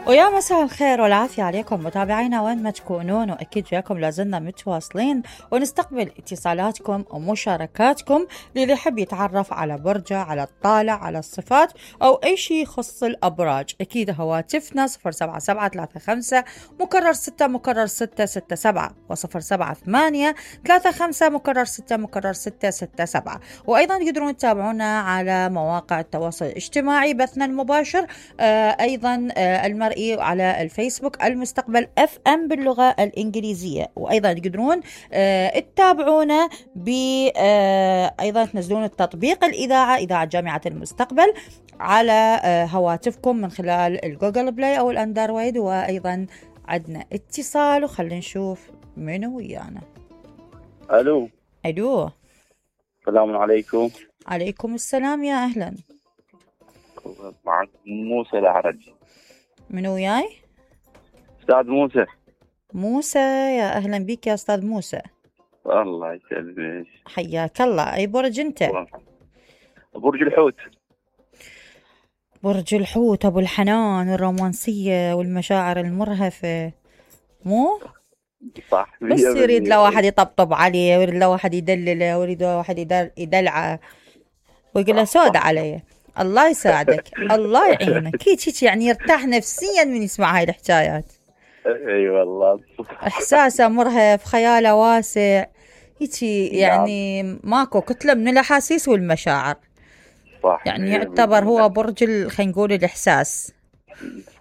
ويا مساء الخير والعافية عليكم متابعينا وين ما تكونون، وأكيد وياكم لازلنا متواصلين ونستقبل اتصالاتكم ومشاركاتكم للي يحب يتعرف على برجة، على الطالع، على الصفات أو أي شيء يخص الأبراج. أكيد هواتفنا 07735 مكرر 6 مكرر 667 و078 35 مكرر 6 مكرر 667. وأيضا تقدرون تتابعونا على مواقع التواصل الاجتماعي بثنا المباشر، أيضا المرئي على الفيسبوك المستقبل FM باللغة الإنجليزية. وأيضا تقدرون تتابعونا أيضا تنزلون التطبيق إذاعة جامعة المستقبل على هواتفكم من خلال الجوجل بلاي أو الأندرويد. وأيضا عندنا اتصال وخلينا نشوف منو ويانا. ألو. السلام عليكم. عليكم السلام، يا أهلا. معك موسى العرج. منو وياي؟ أستاذ موسى، يا أهلا بك يا أستاذ موسى. الله يسلمك. حياك الله. أي برج أنت؟ برج الحوت. برج الحوت، أبو الحنان والرومانسية والمشاعر المرهفة، مو؟ صح. بس يريد له واحد يطبطب عليه، ويريد له واحد يدلله، ويريد له واحد يدلعه ويقول له سود عليه. الله يساعدك. الله يعينك. هيك يعني يرتاح نفسيا من يسمع هاي الحكايات. اي والله. احساسه مرهف، خياله واسع، هيك يعني ماكو كتلة من الاحاسيس والمشاعر. صح. يعني يعتبر هو برج خلينا نقول الاحساس.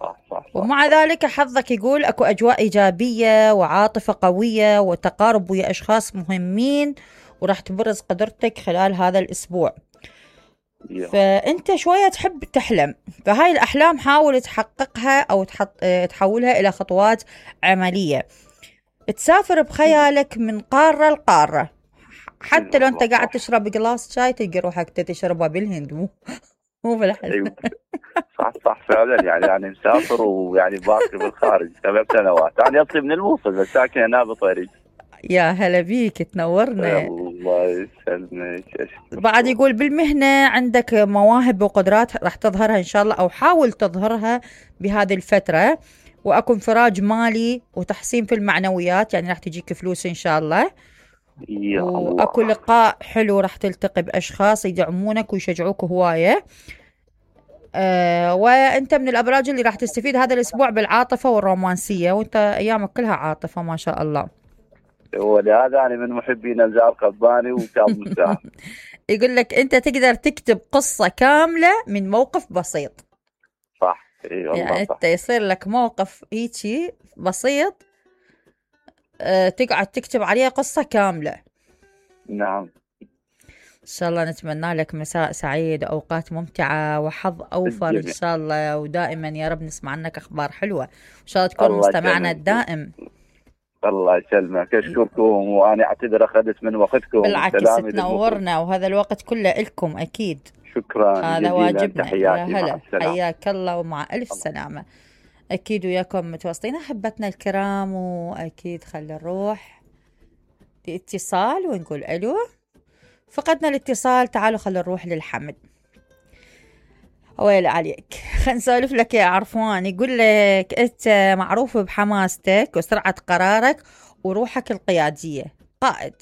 صح. ومع ذلك حظك يقول اكو اجواء ايجابيه وعاطفه قويه وتقارب ويا اشخاص مهمين، وراح تبرز قدرتك خلال هذا الاسبوع. فأنت شوية تحب تحلم، فهاي الأحلام حاول تحققها أو تحولها إلى خطوات عملية. تسافر بخيالك من قارة لقارة، حتى لو أنت قاعد تشرب قلاص شاي تلقى روحك تشربها بالهند، مو بالحلم. صح فعلا. يعني مسافر ويعني باقي بالخارج 7 سنوات. أنا أصلي من الموصل بس ساكن هنا بطريق. يا هلا بيك، تنورنا. الله يسلمك. بعد يقول بالمهنة عندك مواهب وقدرات راح تظهرها إن شاء الله، أو حاول تظهرها بهذه الفترة. وأكو انفراج مالي وتحسين في المعنويات، يعني راح تجيك فلوس إن شاء الله. وأكو لقاء حلو، راح تلتقي بأشخاص يدعمونك ويشجعوك هواية. وأنت من الأبراج اللي راح تستفيد هذا الأسبوع بالعاطفة والرومانسية، وأنت أيامك كلها عاطفة ما شاء الله. ولهذا أنا من محبين نزار قباني وكاظم الساعة. يقول لك أنت تقدر تكتب قصة كاملة من موقف بسيط. صح. اي والله. يعني أنت يصير لك موقف هيجي بسيط، تقعد تكتب عليه قصة كاملة. نعم. إن شاء الله نتمنى لك مساء سعيد، أوقات ممتعة وحظ أوفر إن شاء الله، ودائما يا رب نسمع عنك أخبار حلوة. إن شاء الله تكون مستمعنا الدائم. الله يسلمك. أشكركم وأنا أعتذر أخذت من وقتكم. بالعكس تنورنا، وهذا الوقت كله لكم أكيد. شكرا. هذا واجبنا. تحياتي. يا هلا، حياك الله ومع ألف سلامة. أكيد وياكم متواصلين أحبتنا الكرام. وأكيد خلي نروح لاتصال ونقول ألو. فقدنا الاتصال، تعالوا خلي نروح للحمد. ويل عليك. خلينا نسولف لك يا عرفان. يقول لك أنت معروف بحماستك وسرعة قرارك وروحك القيادية، قائد.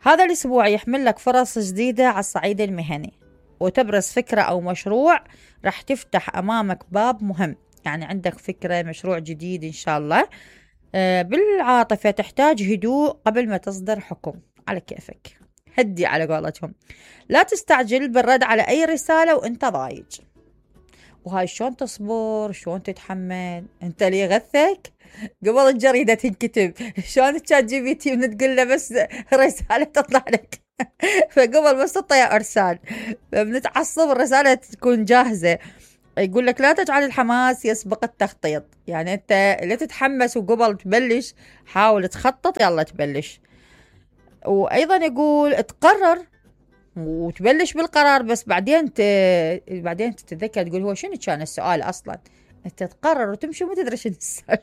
هذا الأسبوع يحمل لك فرص جديدة على الصعيد المهني، وتبرز فكرة أو مشروع راح تفتح أمامك باب مهم. يعني عندك فكرة مشروع جديد إن شاء الله. بالعاطفة تحتاج هدوء قبل ما تصدر حكم، على كيفك، هدي على قولتهم. لا تستعجل بالرد على أي رسالة وانت ضايج. وهاي شلون تصبر، شلون تتحمل؟ انت لي غثك قبل الجريدة تنكتب، شلون تشات جي بي تي من تقول له بس رسالة تطلع لك فقبل بس تطلع ارسال بنتعصب الرسالة تكون جاهزة. يقول لك لا تجعل الحماس يسبق التخطيط. يعني انت لا تتحمس وقبل تبلش حاول تخطط، يلا تبلش. وايضا يقول تقرر وتبلش بالقرار، بس بعدين تتذكر تقول هو شنو كان السؤال اصلا. انت تقرر وتمشي وما تدري شنو السؤال.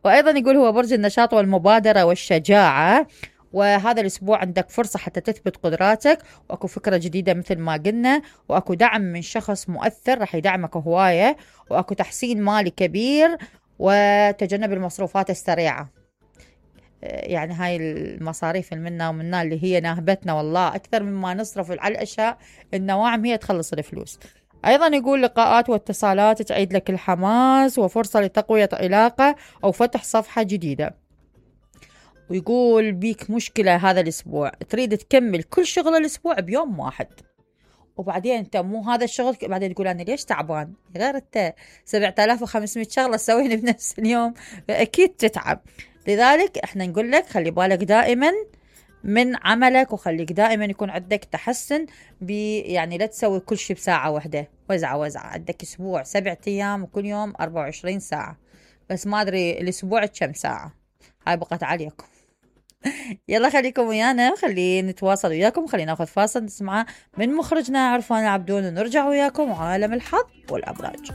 وايضا يقول هو برج النشاط والمبادرة والشجاعة، وهذا الأسبوع عندك فرصة حتى تثبت قدراتك، وأكو فكرة جديدة مثل ما قلنا، وأكو دعم من شخص مؤثر رح يدعمك هواية، وأكو تحسين مالي كبير، وتجنب المصروفات السريعة. يعني هاي المصاريف المنا ومنا اللي هي ناهبتنا والله أكثر مما نصرف على الأشياء النواعم هي تخلص الفلوس. أيضا يقول لقاءات واتصالات تعيد لك الحماس، وفرصة لتقوية علاقة أو فتح صفحة جديدة. ويقول بيك مشكلة هذا الأسبوع، تريد تكمل كل شغل الأسبوع بيوم واحد، وبعدين انت مو هذا الشغل، بعدين تقول انا ليش تعبان، غير انت 7500 شغله تسويهن بنفس اليوم، اكيد تتعب. لذلك احنا نقول لك خلي بالك دائما من عملك، وخليك دائما يكون عندك تحسن يعني لا تسوي كل شيء بساعه واحده، وزعه عندك اسبوع 7 ايام وكل يوم 24 ساعه، بس ما ادري الاسبوع كم ساعه، هاي بقت عليكم. يلا خليكم ويانا، خلينا نتواصل وياكم، خلينا ناخذ فاصل نسمعه من مخرجنا عرفان عبدون، ونرجع وياكم عالم الحظ والأبراج.